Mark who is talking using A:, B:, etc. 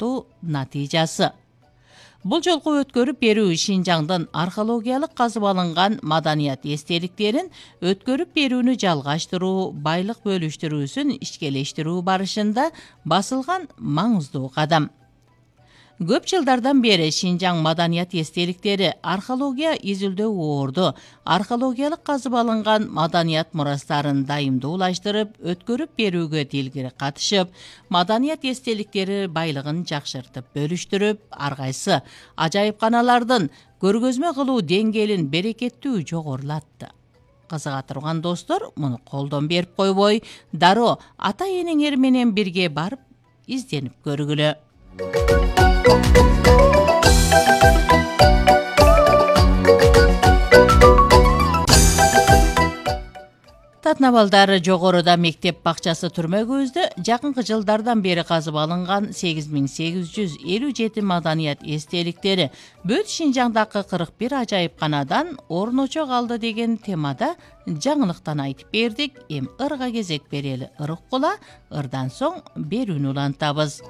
A: тартуу натыйжасы. Бул жолку өткөрүп берүү Шинжаңдын археологиялык казып алынган маданият эстеликтерин өткөрүп берүүнү жалгаштыруу, байлык бөлүштүрүүсүн ишкелештирүү барышында басылган маңыздуу кадам. Көп жылдардан бери Шинжаң маданият эстеликтери археология изилдөө орду, археологиялык казып алынган маданият мурастарын дайымдуулаштырып, өткөрүп берүүгө тилгири катышып, маданият эстеликтери байлыгын жакшыртып бөлүштүрүп, ар кайсы ажайыпканалардын көргөзмө кылуу деңгээлин берекеттүү жогорулатты. Кызыга турган достор муну колдон берип койбой, дароо ата энеңер менен бирге барып изденип көргүлө. Татнабалдар жогоруда мектеп бакчасы түрмөгүбүздө жакынкы жылдардан бери казып алынган 8857 маданият эстеликтери бүт Шинжаңдагы 41 ажайыпканадан орночо калды деген темада жаңылыктан айтып бердик. Эми ырга кезек берели. Ыр уккула, ырдан соң берүүнү улантабыз.